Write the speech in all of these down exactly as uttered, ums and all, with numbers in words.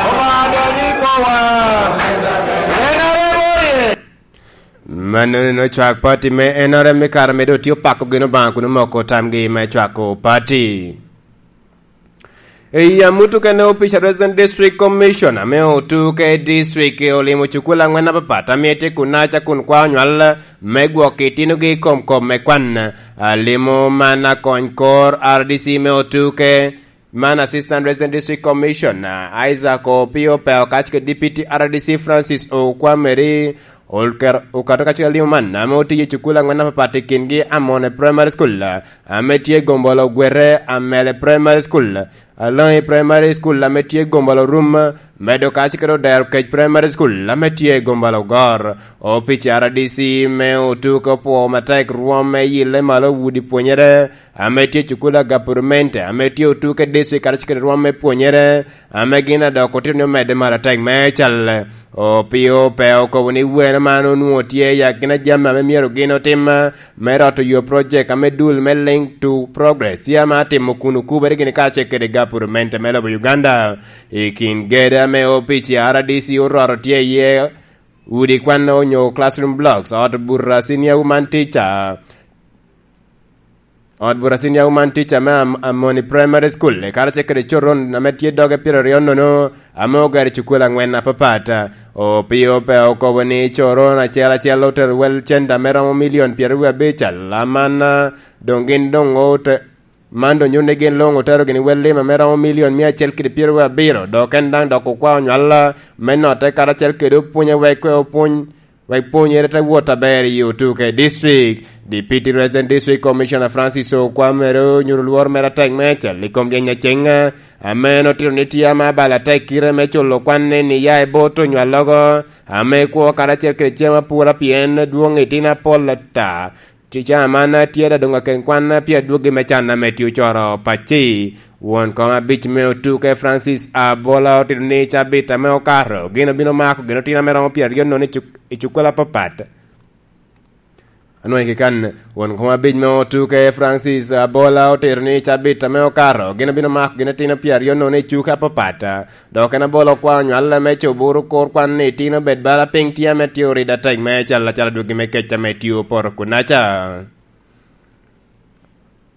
Obaŋa dony i kowa. N R M oye. Mannono cwak pati me N R M i kare me doŋ tye opako gin Obaŋa kun omoko tamgi me cwako pati. I amut okene, opic a Resident District Commission ame otuke i district olimo cukul angwen apapat ame tye kunaca kun kwao nywal me gwok itinogi i kom kop me kwan. Alimo man akony kor R D C me otuke, man Assistant Resident District Commissioner Isaac Opio Peo kacel kede Deputy R D C Francis Okwameri, Olker-, okato kacel alimo man ame otiyo i cukul angwen apapat, i kingi Amone Primary School ame tye i Gombolo Gwere, Amele Primary School, Alongi Primary School ame tye i Gombolo Rum, medo kacel kede Odero Kec Primary School ame tye i Gombolo Ogor. Opic R D C me otuke opwoo matek rwom me yille malo udi pwonyere ame tye i cukul a gapurmente ame tye otuke district kacel kede rwom me pwonyere ame gin adok otito ni omedde malo atek me cal. Opio pe okobo ni wene man onwoŋo tye i akina jami ame myero gin otim, me roto yo project ame dul me Link to Progress tye ame atimo kun okubere gini kacel kede gapurmente me lobo Uganda. I kin gede ame opic R D C oroto tye iye, udi kwan onyo classroom blocks, ot bura senior woman teacher, ot bura senior woman teacher me Am-, Amoni Primary School, karacel kede coron ame tye doge pyeraryo nono, ame ogero i cukul angwen apapat. Opio pe okobo ni coron acel acel otero wel cente ame romo milion pyeraryo abic, aman, doŋ gin doŋ ote-, man doŋ nyuto ni gin luŋ otero gini wel lim ame romo milion mia acel kede pyeraryo abiro, dok en daŋ dok okwao nywal me notte karacel kede opwony wek opwony wek pwonyere te wot aber i otuke district. Deputy Resident District Commissioner Francis Okwamere onyuto lworo mere atek meicel i kom ryeny aceŋ ame en otito ni tye ame abalo atek kite me culo kwanne ni ya i bot onywallogo ame kwo karacel kede cem apura pien dwoŋ itino apol ata. Tica man tye da doŋ aken kwan pi adwogi me can ame tye ocoro pacci. Won kom abic me otuke Francis Abola otito ni cabit ame okato gin obino mako gin otino ame romo pyeraryo nono i cuk-, i cukula apapat. Anwoŋo i kikan, won kom abic me otuke Francis Abola otito ni cabit ame okato gin obino mako gin otino pyeraryo nono i cuke apapat. Dok en Abola okwao nywal ame coburu kur kwan ni itino bed bala piny tye ame tye orida atek me cal acalo dwogi me kec ame tye opoto kunaca.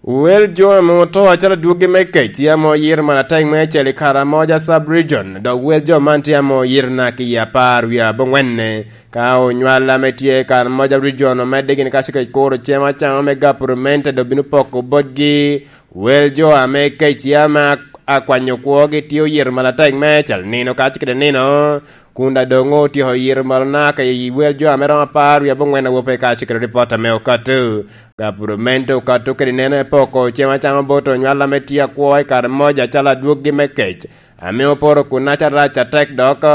Wel jo ame oto acalo adwogi me kec tye ame oyito malo atek me acel i Karamoja Sub-Region, dok wel jo man tye ame oyito naka i apar wie aboŋwenne. Ka onywal ame tye i Karamoja Region omedde gini ka cikec kuro cem acaŋo me gapuramente dok bino poko botgi, wel jo ame kec tye ame ak-, akwanyo kwogi tye oyito malo atek me acel nino ka cikede nino, kun daŋ doŋ otyeko yito malo naka i wel jo ame romo apar wie aboŋwen awope ka cikede ripot ame okato. Gapuramente okato kede neno epoko cem acaŋo bot onywal ame tye akwo i Karamoja acalo adwoggi me kec, ame oporo kunaca rac atek dok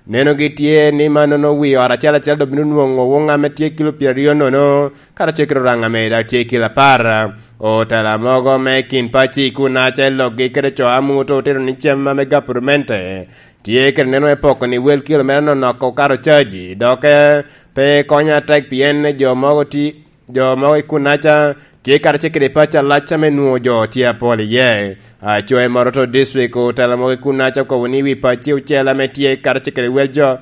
nenogi tye ni mannono wi ot acel acel dok bino nwoŋo woŋ ame tye kilo pyeraryo nono, karacel kede oraŋ ame daŋ tye kilo apar. Otela mogo me kin pacci kunaca i lokgi kede co amuto otito ni cem ame gapurmente tye kede neno epoko ni wel kilo mere nonok okato caji, dok, eh, pe konyo atek pien jo mogo ti-, jo mogo i kunaca tye karacel kede pacci alac ame nwoŋo jo tye apol iye. Acoya i Moroto District, otela mogo i kunaca okobo ni wi pacci ocel ame tye karacel kede wel jo,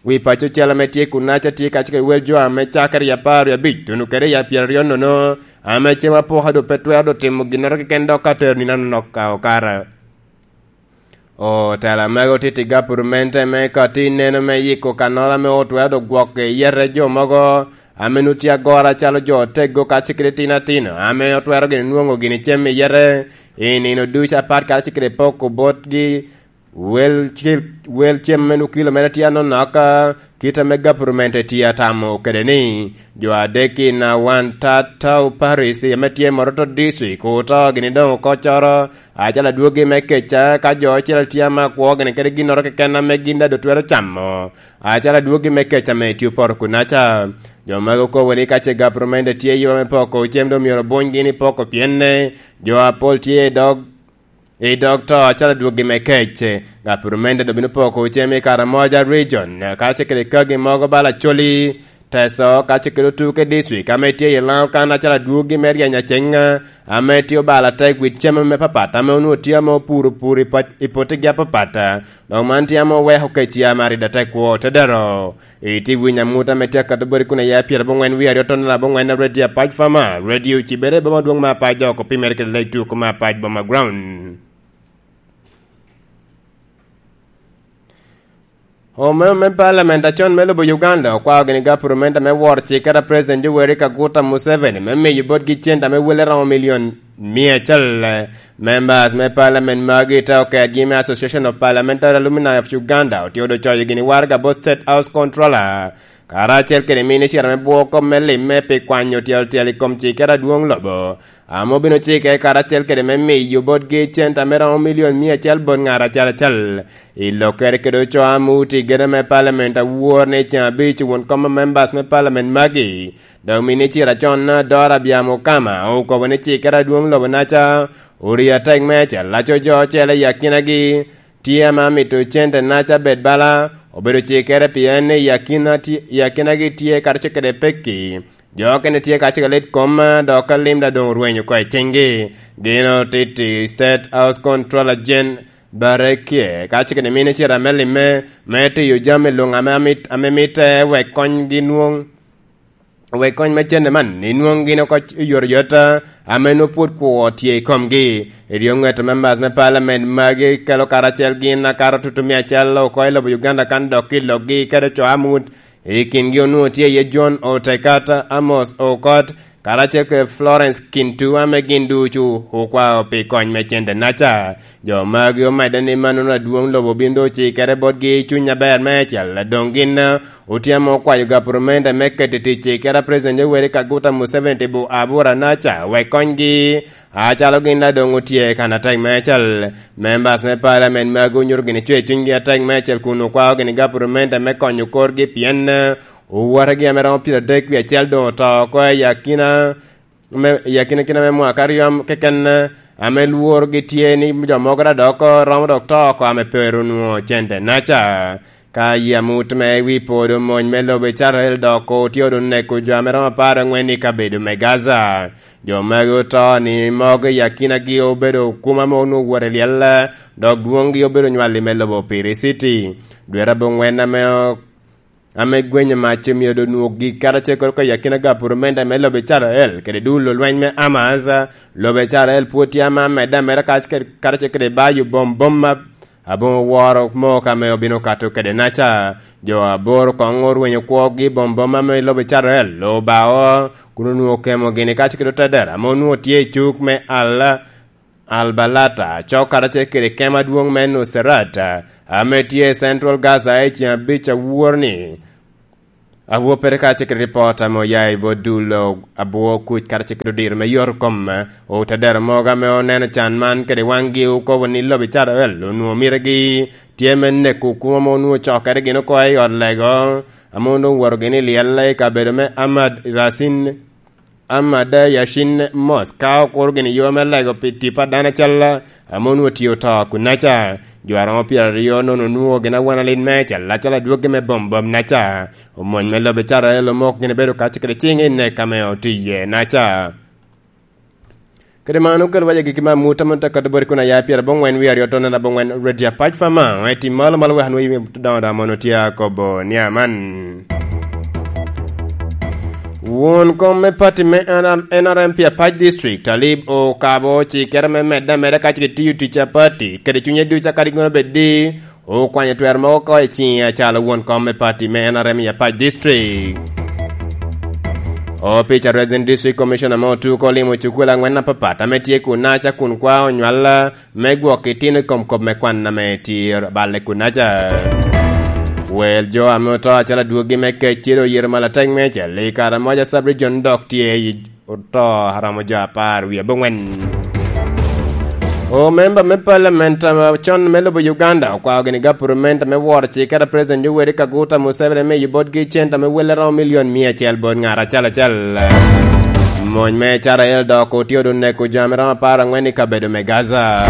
wi pacci ocel ame tye kunaca tye karacel kede wel jo ame cakere i apar wie abic, tuno kede i pyeraryo nono, ame cem apoka doŋ pe twero doŋ timo ginnoro keken dok ka tero nino anonok ka okara. Otela mege otito i gapurmente me kati neno me yiko kannoro ame otwero doŋ gwoko iye jo mogo ame nwoŋo tye agoro acalo jo otego kacel kede tino atino ame otwero gini nwoŋo gini cem i yete i nino ducu apat kacel kede poko botgi wel cil-, wel cem me nwoŋo kilo mere tye anonok, kit ame gapurmente tye atamo kede ni jo adek i Nawan Tatau Paris ame tye i Moroto District oto gini doŋ oko coro acalo adwogi me kec, ka jo ocel tye ame akwo gini kede ginnoro keken ame gin daŋ doŋ twero camo acalo adwogi me kec ame tye opoto kunaca. Jo magi okobo ni ka ce gapurmente tye i yo me poko cem doŋ myero bunygi ni poko pyenne jo apol tye i dog, i dog to acalo adwogi me kec. Gapuramente doŋ bino poko cem i Karamoja Region, kacel kede kagi mogo bala Acholi, Teso, ka ce kede otuke district ame tye i Lango kan acalo adwogi me ryeny aceng, ame tye obalo atek wi cem me papat, ame onwoŋo tye ame opuro pur i pat-, i potigi apapat. Dok man tye ame oweko kec ya maride atek kwo te dero. Itye winyo amut ame tye akato boti kun aye pyerabongwen wie aryo tonne abongwen, Radio Apac Fama, radio cibere i boma dwoŋ me Apac, dok opimere kede lec tuko me Apac Boma Ground. Omeo me Parliament acon me lobo Uganda okwao gini gapurumenta me woro cikere a President Yoweri Kaguta Museveni me miyo botgi cente ame wele romo milion mia acel. Members me Parliament magi te oketgi me Association of Parliamentary Alumni of Uganda otye odo coyo gini waraga bot State House Controller, karacel kede minicita me bwoko me limme pi kwanyo tyeltyel i kom cikere adwoŋ lobo, ame obino cike karacel kede me miyo botgi cente ame romo milion mia acel bot ŋat acel acel. I lokkere kede ocoo amut i gedo me Parliament awor ni ceŋ abic won kom members me Parliament magi, dok minicita acon Dora Byamukama okobo ni cikere adwoŋ lobo naca orio atek meicel, laco jo ocele i akinagi tye ame amito cente naca bed bala obedo cikere, pien i akina tye, i akinagi tye karacel kede pekki. Jo okene tye kacel ka lit kom, dok ka limda doŋ orwenyo oko i ciŋgi. Gin otiti State House Controller Jane Barekie kacel kede minicita me limme me tiyo jami luŋ ame amit-, ame mitte wek konygi nwoŋ, wek kony me cente man inwoŋ gin oko oyotoyot, ame nwoŋo pwod kwo tye i komgi. Eryo ŋet members me Parliament magi kelo karacel gin akato tutu mia acel oko i lobo Uganda kan dok i lokgi kede co amut. I kingi onwoŋo tye iye John Otekat, Amos Okot, karacel kede Florence Kintu, ame gin ducu okwao pi kony me cente naca. Jo magi omedde ni mannono adwoŋ lobo obin doŋ ocikere botgi i cuny aber meicel. Doŋ gin, eh, otye ame okwayo gapurumende me keto i tic cikere a President Yoweri Kaguta Museveni tipo abura naca wek konygi, acalo gin daŋ doŋ otye kan atek meicel. Members me Parliament magi onyuto gini cwer cunygi atek meicel kun okwao gini gapurumende me konyo korgi, pien, eh, owotegi ame romo pyeradek wie acel doŋ oto oko i akina me, i akinakina me mwaka aryo keken, ame lworogi tye ni jo mogo daŋ dok romo dok to oko ame pe ru nwoŋo cente naca. Ka yie amut me wi podo mony me lobo Icrael dok otye odo neko jo ame romo apar angwen i kabedo me Gaza. Jo magi oto ni mogo i akinagi obedo kuma ame onwoŋo wot i lyel, dok dwoŋgi obedo nywalli me lobo Piri City. Dwera abongwen ame ame gwenyo mac omio doŋ nwogi karacel kede oko i akina gapurumenda me lobo Icrael kede dul olweny me Hamas. Lobo Icrael pwod tye ame amedde ameda kac-, kede, karacel kede bayo bombom ma aboŋo woro mok ame obino kato kede naca. Jo aboro koŋ orwenyo kwogi bombom ame i lobo Icrael obao, kun onwoŋo kemo gini kac kede otedera ame onwoŋo tye i cuk me Al Albalata, cok karacel kede kema adwoŋ me Nusrat, ame tye i Central Gaza i ceŋ abic awor-ni. Awoppere karacel kede ripot ame oya i bot dul abwo kuc karacel kede odiro me yot kom, otedero mogo ame oneno can man kede waŋgi okobo ni lobo Icrael onwoŋo mitegi tye me neko kuma ame onwoŋo cokere gin oko i ot lego, ame onwoŋo woto gin i lyel i kabedo me Ahmad Rasin. Amada Yashin Mos ka okuro gini yo me lego pi tipo a dano acel ame onwoŋo tye oto kunnaca. Jo aromo pyeraryo nono onwoŋo gin awan alin me cel acel adwoggi me bombom naca. Omony me lobo Icrael omoko gini bedo kaco kede ciŋ i nek ame otye iye naca. Kede man okelo wac agikki me amut ame tye ka boti kun aya pyerabongwen wie aryo tonne abongwen Radio Apac Fama, eti malo malo wek anwoŋ yimi doŋo doŋ mono tye akobo ni aman. Won kom me pati me N R M P Apac District, Talib Okabo, cikere me medde ameda kac ki tiyo tic a pati, kede cunye ducu akadi gono bed di, okwanyo twero mogo oko i ciŋe acalo won kom me pati me N R M i Apac District. Opic a Resident District Commissioner me Otuko olimo cukul angwen apapat ame tye kunnaca kun kwao onywal me gwok itino i kom kop me kwan ame tye balle kunnaca. Wel jo ame oto acalo adwogi me kec ciro oyero malatek me acel i kare moja sub-region dok tye i oto aromo jo apar wie abongwen. Omemba me paliament, uh, con me lobo Uganda okwao gini gapurumenta me woro cikere a President Yoweri Kaguta Museveni me yubo botgi cente ame welle romo milion mia acel bot ŋat acel acel. Mony me Icrael dok otye odun neko jo ame romo apar angwen i kabedo me Gaza.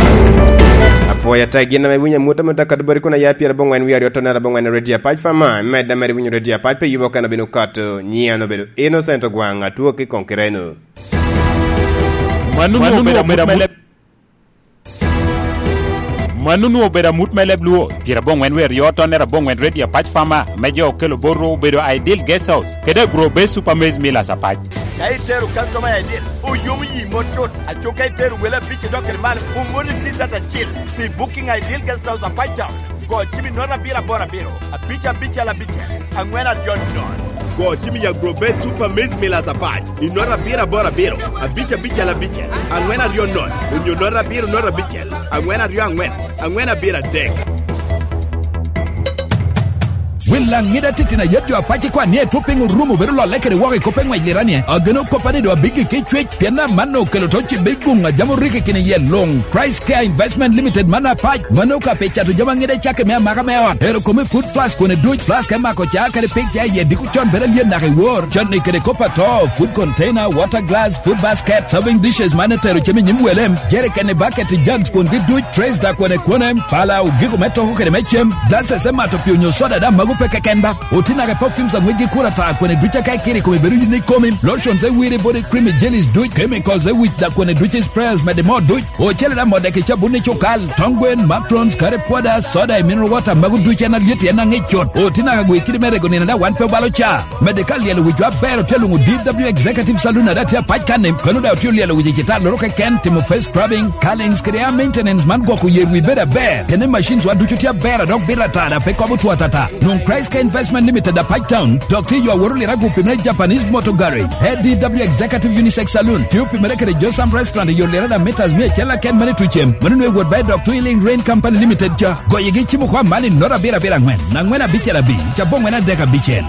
Apwoyo tek gin ame winyo amut amut akadubori kun aya pyerabongwen wie aryo tone arabongwen i redio apac fama, med ameri winyo redio apac pe yubo keno bino kato, nyian obedo Innocent Ogwang, atwo ki kong kireno. Mano onwoŋo obedo amut me leb-, mano onwoŋo obedo amut me leb Luo, pyerabongwen wie aryo tone arabongwen redio apac fama, me jo okelo botwu obedo Ideal Guest House, kede Agro Base Super Maize Millers apac. Ka itero customer I D, oyomo yi mot cut. Aco ka itero wele abic idok kede malo, omoni T-shirt acil pi Booking Ideal Guest House a Pine Town. Go cim i note abiro aboro abiro, abic abicel abicel, angwen aryo nono. Go cim i Agro Base Super Maize Millers apac i note abiro aboro abiro, abic abicel abicel, angwen aryo nono, onyo note abiro note abicel, angwen aryo angwen, angwen abiro adek. Wel Laŋida titino ayet jo apac ikwan ni etwo piny orumo bedo lolle kede woko i kop eŋwec lirani. Ageno koppa ni doŋ abiggi ki cwec, pien amanno okelo to cibbe i guŋ a jami orikki kine iye luŋ. Christ Care Investment Limited man apac, mano ka pi cato jami aŋida i cakki me amaka me ot. Ero kome food flask kone duc, flask me mako ca kede pig ca iye diko con bedo alyet naka i wor. Canni kede kop ato, food container, water glass, food basket, serving dishes man etero cem i nyim wele, jerikeni, bucket, jugs kwongi duc, trays da kwene kwene, pala, ogiko me toko kede me cem, glasses me mato pii onyo soda daŋ mago pe keken ba. Oti naka perfumes aŋwec gi kura ta kwene duc aka ikiro i kome bedo yin ikomi, lotions e wiri body cream i jellies duc, chemicals e wic da kwene duc i sprayers mede mo duc, ocele daŋ modde ki cabun i cukal, tong gwen, macrons, curry powder, soda i mineral water mago duc en alyet en aŋic cut. Oti naka gwe kidi me rego nino daŋ wan pe obalo ca. Medde ka lyelo wicwa aber otye luŋo D W Executive Saloon a daŋ tye apac kanni, kono daŋ otye olyelo wic i citar loro keken, timo face scrubbing, curlings kede hair maintenance man gwoko yer wi bedo aber. Kene machines wa ducu tye aber a dok bito atata pe kobo two atata. Nwoŋ Christ Care Investment Limited apac town, dok tye yo awot oliro agupi me Japanese Motor Garage, A D W Executive Unisex Saloon, tye opimere kede Josam Restaurant i yo liro da meters mia acel aken mani tucem, mano nwe wot ba i dok Twilling Rain Company Limited ca. Goyegi cimo kwa man i note abiro abiro angwen, angwen abicel abic, abongwen adek abicel.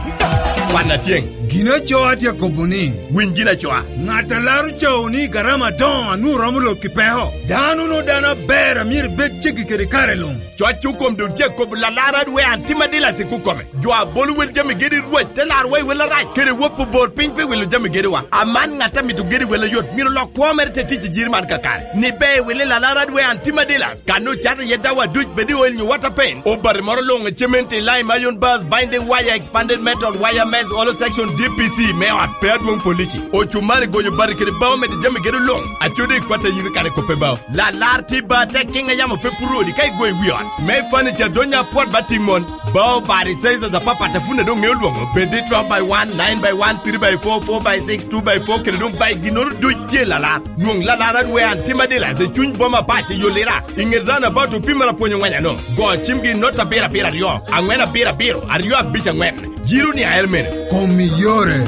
Kwan atyeŋ. Gin acoa tye akobo ni, winy gin acoa. Ŋat a laro cawo ni garama adoŋo a nwoŋo romo lok i peko. Dano no dano aber a myero bed ceggi kede kare luŋ. Cwac okom dul cek kobo lalar adwe an tim adila sik okome. Jo a bolo wel jami gedi Rwec te larwa i wel arac, kede wopo bor piny pi wilo jami gediwa. Aman ŋat a mito gedi wel ayot, myero lok kwo mere te tic i jiri man kakare. Ni be i wili lalar adwe an tim adila. Kan ocato iye dawa duc, bed i oil nyo water paint, obati moro luŋ, cement, lime, iron bars, binding wire, expanded metal, wire mesh, hollow section, D P C me ot, pe adwoŋ polici, ocumari, goyo bati kede bao, mede jami gedo luŋ, acodi i kwat a yiri kare kope bao. Lalar tye ba tek kiŋ a yamo pe puro odi ka igoyo i wi ot. Me furniture donya apwot ba tiŋ mon. Bao bati sizes apapat a pwod doŋ ŋeo lwoŋo, bed i twelve by one, nine by one, three by four, four by six, two by four, kede doŋ bai ginnoro duc tye lalar. Nwoŋ lalar adwe an tim adila i cuny boma pac i yo lira, i ŋet roundabout opimere apwony oŋweny ano. Go cimgi i not abiro abiro aryo, aŋwen abiro abiro, aryo abic aŋwen. Jiro ni ael mene. Kom i yore.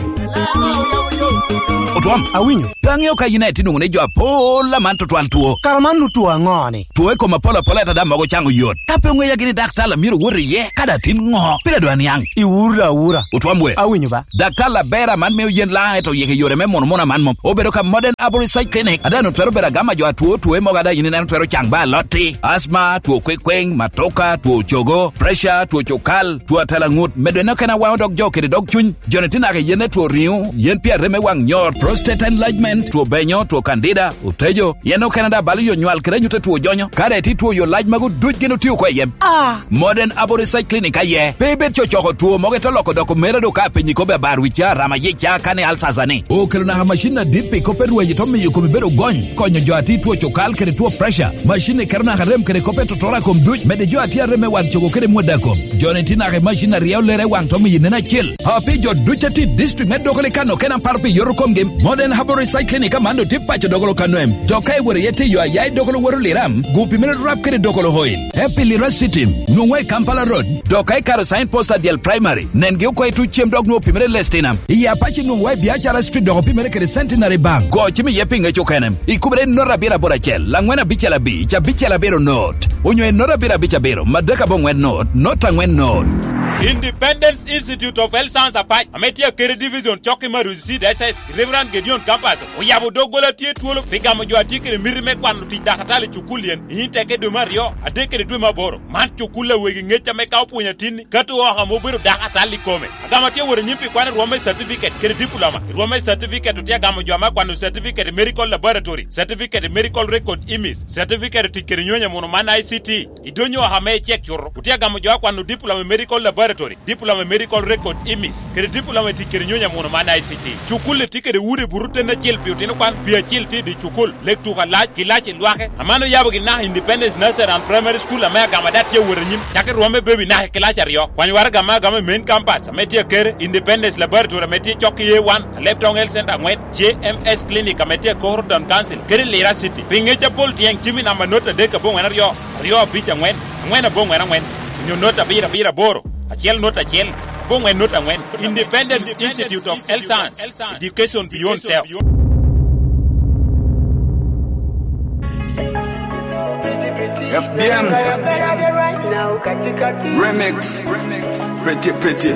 Otwom, awinyo. Pe aŋeo ka yin aye tye nwoŋo ni jo apol aman tutwal two. Kara man nu two aŋo ni? Two i kom apol apol ata daŋ mogo caŋo yot. Ka pe oŋeya gini daktar a myero wot iye, ka daŋ tin ŋo? Pire dwa niaŋ. Iwura awura. Otwom we. Awinyo ba. Daktar aber aman mio yen laŋ eto yeke yore me mono mono aman mom. Obedo ka Modern Arborist Clinic, a daŋ otwero bedo agama jo atwo two mogo a daŋ yin ineno twero caŋ ba alotti, asma, two kwekweng, matoka, two cogo, pressure, two cukal, two atalaŋut, medo en okene awaŋo dog jo kede dog cuny. Joni tye naka i yen etwo riŋo, yen pi arem me waŋ nyor, prostate enlargement, two benyo, two candida, otejo, yen okene daŋ balo yo nywal kede anyut etwo jonyo. Ka daŋ itye two yo lac magu duc gin otio oko i yem. Ah! Modern Abo Research Clinic aye. Pe ibed cocoko two mogo ite loko doko mere do ka apenyi kobbe abar wicca, rama yica, kani alsasa ni. Okelo naka macin adit pi kop erwaji to miyo kome bedo gony, konyo jo a tye two cukal kede two pressure. Macin-ni keto naka rem kede kop etotoro a kom duc, medde jo a tye arem me waŋ cogo kede mwodda kom. Joni tye naka i macin a ryeo lere i waŋ to miyo inen acil. A pi jo duc a tye i district me Dokolo i kano kena paro pi yoto komgi, Modern Herbal Research Clinic aman doŋ tye paco Dokolo kano em. Dok ka iworo iye tye yo a ya i Dokolo woto Liram, gupi mere rap kede Dokolo Oil. Happy Lira City, nwoŋwa i Kampala Road, dok ka ikaro sign post a Dyel Primary, nengi oko i tuc cem dok nwoŋo opimere Lestinam. I Apac nwoŋwa i Biacara Street dok opimere kede Centenary Bank. Go cim iye pi ŋec okene. Ikubere i not abiro aboro acel, angwen abicel abic, abicel abiro not. Onyo i not abiro abic abiro, madek abongwen not, not angwen not. Independence Institute of Health Science Apac, ame tye Akere Division, cokki me Arusi City, S S, Reverend Gideon Campus, oyabo doggola tye twolo pi gamo jo a tye kede miti me kwano tic dakatali i cukul yen i nyim teke dwe me aryo, adek kede dwe me aboro. Man cukul a wegi ŋec ame ka opwonyo atinni, kato oko ame obedo dakatali i kome. Agamo tye wot anyim pi kwano rwom me certificate kede diploma. Rwom me certificate otye agamo jo ame akwano certificate i medical laboratory, certificate i medical record image, certificate tic kede nyonyo muno man I C T. I dony oko ame icek cuto, otye agamo jo akwano diploma i medical laboratory, diploma i medical record image, kede diploma i tic kede nyonyo muno man I C T. Cukul-li tye kede udi buto ten acel pi otino kwan, pi acil tye i dye cukul, lek tuko alac, kilaci lwake. Aman oyabo gin naka Independence Nursery and Primary School ame agamo ada tye awot anyim, cakki rwom me baby naka i kilaci aryo. Kwany waraga ame agamo i main campus ame tye Akere, Independence Laboratory ame tye cok i A one, Alebtong Health Center angwen, J M S Clinic ame tye Akoro Town Council, kede Lira City. Pi ŋec apol tyeng cim i namba not adek aboŋwen aryo, aryo abic angwen, angwen aboŋwen angwen, onyo not abiro abiro aboro, acel not acel, aboŋwen not angwen. Independence Institute of Health Science, Education Beyond Self. F B M Remix. Pretty, pretty.